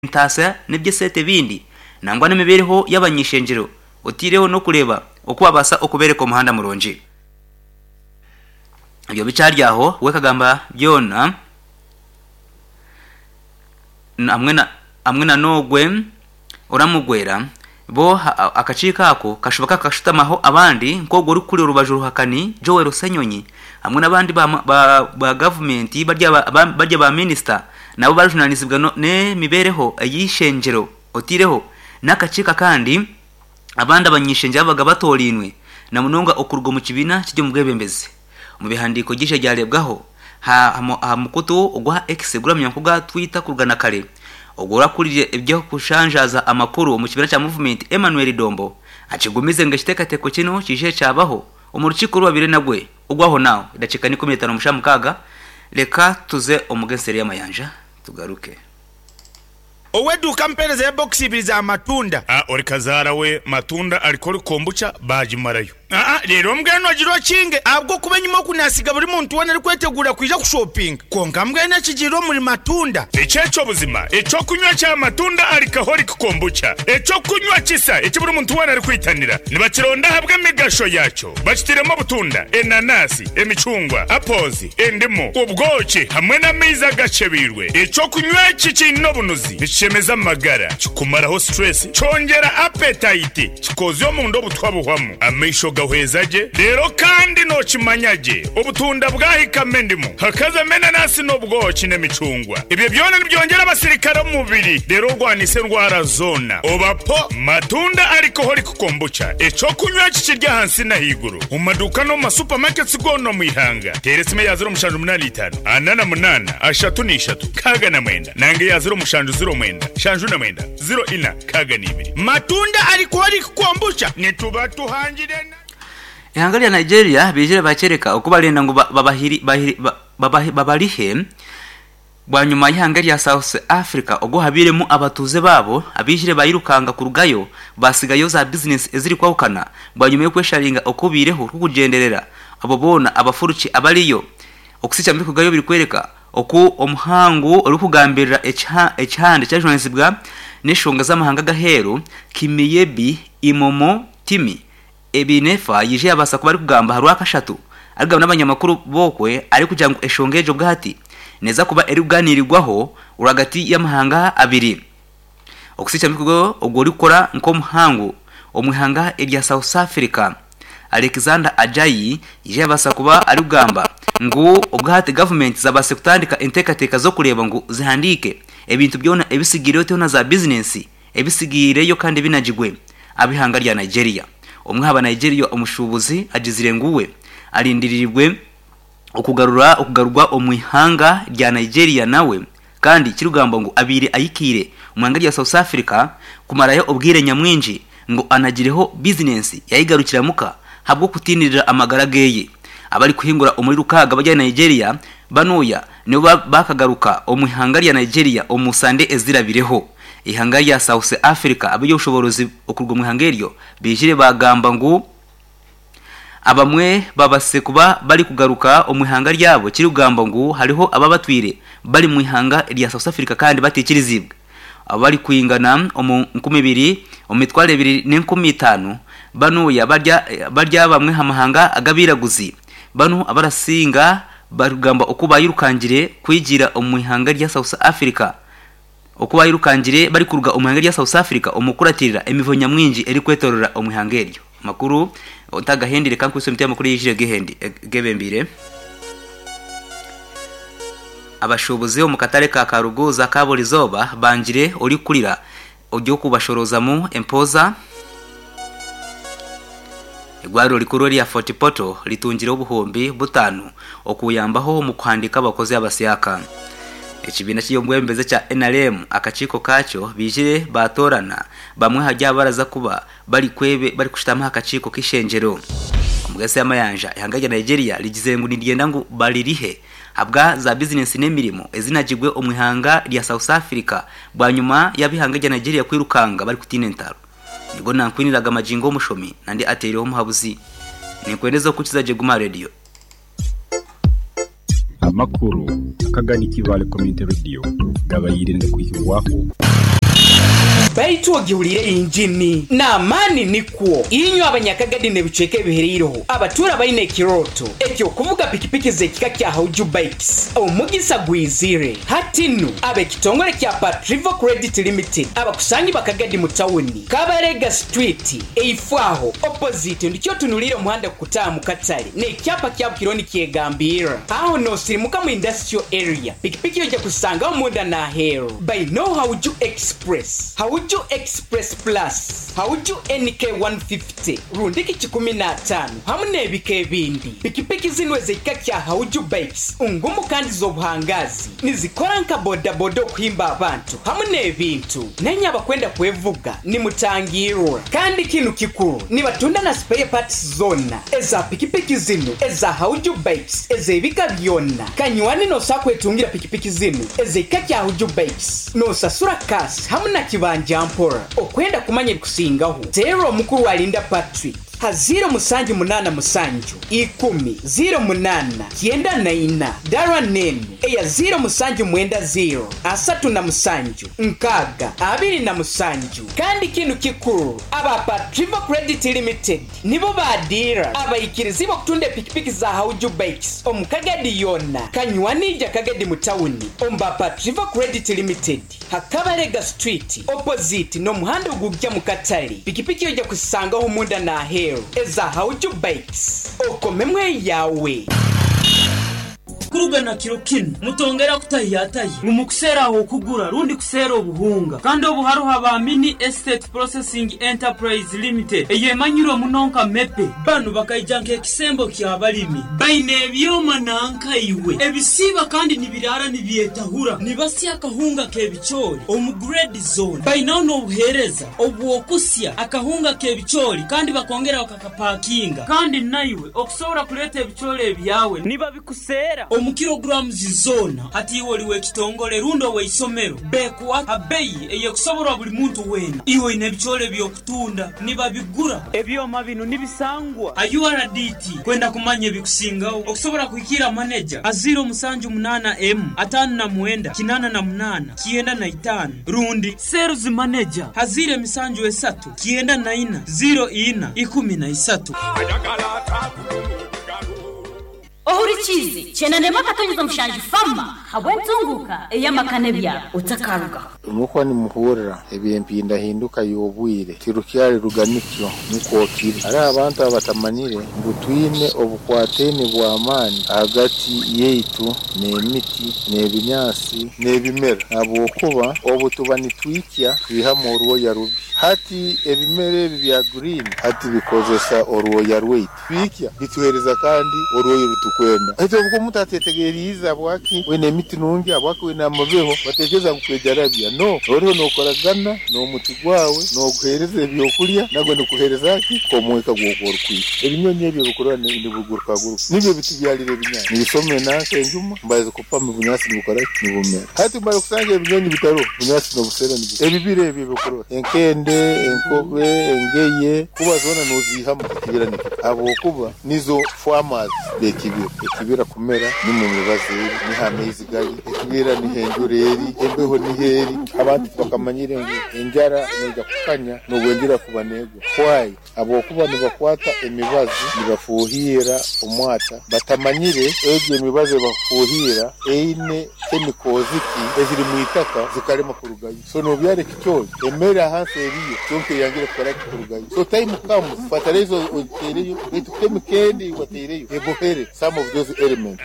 Entaasa n'eby'eseete ebindi nangwa n'emibeereho y'abany'eishengyero otaireho n'okureeba oku babaasa okubeereka omuhanda murungi. Ebyo bikyari aho, we akagamba byona hamwe na n'ogwe oramugwera, bo akakiiko ako kashuba kakashutamaho abandi nk'ogwo orikukurira orubaju oruhakani Joel Ssenyonyi hamwe n'abandi ba gavumenti barya ba minisita nabo barikujunaanizibwa n'emibeereho ey'eishengyero otaireho n'akakiiko akandi abandi abany'eishengyero ababaga batoorainwe na munonga okuruga omu kibiina kiri omu bwebembezi. Omu bihandiiko by'eishe ryareebwaho aha mukutu ogwa X oguramanywa nk'ogwa Twitter kuruga na kare, ogwo orakuriire eby'okushanjaaza amakuru omu kibiina kya Movement, Emmanuel Dombo, akigumize ngu ekiteekateeko kinu kiije kyabaho omu rukiiko oru babaire nagwe ogw'ahonaaho edakiika n'ikumi n'etaano omu shaaha mukaaga. Reka tuze omu g'enseeri y'amayanja tugaruke. Ow'eduuka ampeereza ya bokisi ibiri za matunda. A Ori kazaara we matunda ariko ori kombucha baagimarayo. Aa Reero mbwenu ogire okinge ahabw'okuba enyima oku naasiga buri muntu weena arikweteguura kwija kushopinga. Kwonka mbwenu ekigiire omuri matunda. Eki eky'obuzima, eky'okunywa kya matunda alcoholic kombucha, eky'okunywa kisa eki buri muntu weena arikwitanira. Nibakironda ahabw'emigasho yaakyo. Bakitairemu obutunda, enanasi, emicungwa, apples, endimu, obwoki hamwe n'amaizi agakyebeirwe. Eky'okunywa eki kiine obunuzi, nikishemeza amagara, kikumaraho stress, kyongyera appetite, kikoozya omunda obutwa buhwamu, amaisho gahweza gye, reero kandi nookimanya gye obutunda bwahikamu endimu, hakazamu enanasi n'obwoki n'emicungwa. Ebyo byona nibyongyera abasirikare omu mubiri reero orwanise endwara zoona. Oba po matunda alcoholic Kombucha, eky'okunywa eki kiri ahansi n'ahaiguru omu maduuka n'omu ma supermarkets goona omu ihanga. Teera esimu eya 0785 48 33 69 nanga eya 0709 79 04 62. Matunda alcoholic kombucha nituba tuhangire na. Eihanga rya Nigeria baijire bakyereka oku barenda ngu babarihe Bwanyima y'eihanga erya South Africa ogu habairemu abatuuze baabo abaijire bairukanga kurugayo baatsigayo za bizinesi ezirikwahukana bwanyima y'okwesharinga okubaireho kukugyenderera abo boona abafuruki abariyo okutsitsa omu birikworeka oku omuhangu orikugambirira ekihanda ekyajunanizibwa n'enshonga z'amahanga ag'aheeru Kimiebi Imomo Timi Ebinefa yaija yabaasa kuba arikugamba aha Rwakashatu arikugamba n'abanyamakuru b'okwe arikugira ngu enshonga egyo obwahati neeza kuba erikuganiirwaho rwagati y'amahanga abiri. Okusiikya mikogo ogwo orikukora nk'omuhangu omu ihanga erya South Africa, Alexander Ajayi yaija yabaasa kuba arikugamba ngu obwahati gavumenti zabaasire kutandika enteekateeka z'okureeba ngu zihandiike ebintu byona ebitsigaireyo teho na za bizinensi ebitsigiireyo kandi ebinagirwe ab'eihanga rya Nigeria. Omwe aha Banigeria omushuubuzi agizire ngu we arindiriirwe okugarura okugarurwa omu ihanga rya Nigeria nawe kandi kirikugambwa ngu abaire ahikaire omu ihanga rya South Africa kumarayo obwire nyamwingi ngu anagireho bizinensi yayegarukira muka ahabw'okutiinirira amagara geye. Abarikuhingura omuri rukaaga bari ahari Nigeria banuya nibo bakagaruka omu ihanga rya Nigeria omu sande ezirabireho. Eihanga rya South Africa ab'eby'obushoboorozi okuruga omu ihanga eryo baijire baagamba ngu abamwe babaasize kuba barikugaruka omu ihanga ryabo ekirikugambwa ngu hariho ababatwire bari mu ihanga rya South Africa kandi bataikiriziibwe abarikwingana omu 2000 omu 20,500 banuya bari abamwe aha mahanga ag'abairaguzi banu abarasinga barikugamba oku baayirukangire kwigira omu ihanga rya South Africa. Oku baayirukangire barikuruga omu ihanga rya South Africa omu kukuratirira emivuyo nyamwingi erikwetorora omu ihanga eryo. Amakuru ntagahendire ka nkwitse emiti y'amakuru eyaijire gebembeire. Abashuubuzi omu katare ka Karuguuza aka burizooba bangire orikukurira ory'okubashoroozamu empooza. Eirwariro rikuru erya Fort Portal ritungire obuhumbi butaano okuyambaho omu kuhandiika abakozi abasyaka. Ekibiina ky'eby'obwebembezi ekya NRM akakiiko kaakyo baijire baatoorana bamwe ahari abo abaraza kuba barikushutama aha kakiiko k'eishengyero. Omugaitsi y'amayanja, eihanga rya Nigeria rigizire ngu niryenda ngu baririhe ahabwa za bizinesi n'emirimo ezinagirwe omu ihanga rya South Africa bwanyima y'ab'eihanga rya Nigeria kwirukanga barikutiina entaro. Nibwo nankwiniraga magingo omushomi nandi ateireho omuhabuzi. Ninkwendeza okukiza gye Guma Radio. Amakuru akaganikibwa Community Radio gabaire nigakwihibwaho. Baitu ogihuliire yingini n'amaani nikwo. Inywe Abanyakagadi n'ebicweka ebihereireho abatuura baine ekirooto eky'okuvuga pikipiki z'ekika kya Hauju Bikes, omugisa gwizire. Hati nu, ab'ekitongore kya Patrivo Credit Limited abakusangibwa Kagadi mu tawuni, Kabarega Street, eifo aho, opposite, ndikyo otunuliire omuhanda gukutaaha mu katale n'ekyapa kyabo kiriho nikyegambirra. Aho noosirimuka mu Industrial Area, pikipiki oija kuzisangaho munda n'aheeru. Baine Hauju Express, Hauju Express Plus, Hauju NK 150 rundiki kikumi n'ataano hamu n'ebika ebindi. Pikipiki zinu ez'ekika kya Hauju Bikes ngumu kandi z'obuhangaazi. Nizikora nka bodaboda okuhimba abantu hamu n'ebintu. Nainye abakwenda kwevuga nimutangiirwa. Kandi kinu kikuru, nibatunda na spare parts zoona eza pikipiki zinu eza Hauju Bikes ez'ebika byona. Kanywani nosobola kwetungira pikipiki zinu ez'ekika kya Hauju Bikes nosasura cash hamu na kibanja mpora. Okwenda kumanya ebikusingaho, teera omukuru Alinda Patrick ha ziiro musanju munaana musanju ikumi ziiro munaana kyenda na ina dara n'enu eya ziiro musanju mwenda ziiro 37 6 27. Kandi kinu kikuru, aba Patrivo Credit Limited nibo ba diira abaikirizibwa okutunda epikipiki za Hauju Bikes omu Kagadi yoona. Kanywani ija Kagadi mu tawuni omu ba Patrivo Credit Limited ha Kabalega Street opposite n'omuhanda ogugya mu katale. Pikipiki oija kuzisangaho munda n'aheeru eza Hauju Bikes. Okomemu eyawe. Kuruga na kiro kinu, mutongera kutahiyatahya ngu mukuseera ah'okugura rundi kuseera obuhunga. Kandi obu haroho aba Mini Estate Processing Enterprise Limited eyemanyirwe muno nka MEPE. Banu bakaija nk'ekisembo ky'abalimi. Baine ebyoma nanka iwe ebisiiba kandi nibiraara nibyetahura. Nibasya akahunga k'ebicoori omu grade zoona. Bainaho n'obuheereza obw'okusya akahunga k'ebicoori kandi bakongera bakakapakinga. Kandi naiwe okusobora kuleeta ebicoori ebyawe nibabikuseera omu kilograms zoona. Hati iwe oli w'ekitongole rundi ow'eisomero, beekuha ha beyi ey'ekusoborwa buli muntu weena. Iwe oine ebicoori eby'okutunda, nibabigura. Ebyoma binu nibisangwa ha URDT. Kwenda kumanya ebikusingaho, okusobora kuhikiira maneja ha ziiro musanju munaana emu, 59, 88, 95 rundi Sales Manager ha ziiro emisanju esatu, 94, 04, 13. Ohurikiize, Kyenda n'emwe akatonyeza mushanju Fama habw'entunguuka ey'amaka n'ebyaro. Otakarugaho. Mukuba nimuhurira eby'empindahinduka y'obwire, tirukyari ruganikyo nikwo kiri. Hariho abantu abatamanyire ngu twine obukwataine bw'amaani ahagati yaitu n'emiti, n'ebinyaatsi, n'ebimera ahabw'okuba obu tuba nitwikya twihamu orwoya rubi. Hati ebimera ebi bya green hati bikozesa orwoya rwaitu. Twikya bituheereza kandi orwoya oru tukwenda. Hati obu omuntu atetegeriize habwaki wine emiti nungi, habwaki wine amabeho, batekereza ngu kwejarabya. No, oriho nokoragana n'omuti gwawe, noguheereza ebyokurya, nagwo nigukuheereza ki? Omwika gw'oku orikwikya. Ebinyonyi ebyo ebikurora nibigurukaguruka nibyo bitubyarira ebinyaatsi. Nibisoma enanka enjuma, mbaza kupama obunyaatsi nibukora ki? Nibumera. Hati mara kusanga ebinyonyi bitariho, obunyaatsi nobusera nibufa. Ebibira ebyo ebikurora, enkende, enkobe, engeye, kuba zoona noziihamu ekibira nikifa ahabw'okuba nizo farmers b'ekibira. Ekibira kumera nimwo emibazi eri, niho amaizi gari, ekibira niho enjura eri, embeho niho eri. Abantu tibakamanyire ngu enjara neija kukanya n'obu enjura kuba negwa. Why? Ahabw'okuba nibakwata emibazi nibafuuhiira omwata batamanyire egyo emibazi ebakufuuhiira eine chemicals ki eziri mwitaka zikarema kurugayo. So nobyara ekicoori emere ahansi eriyo kyonka eyangire kukora ki kurugayo. So time comes fertilizer ogiteereyo beitu chemical endi eyiwateireyo ebohere some of those elements.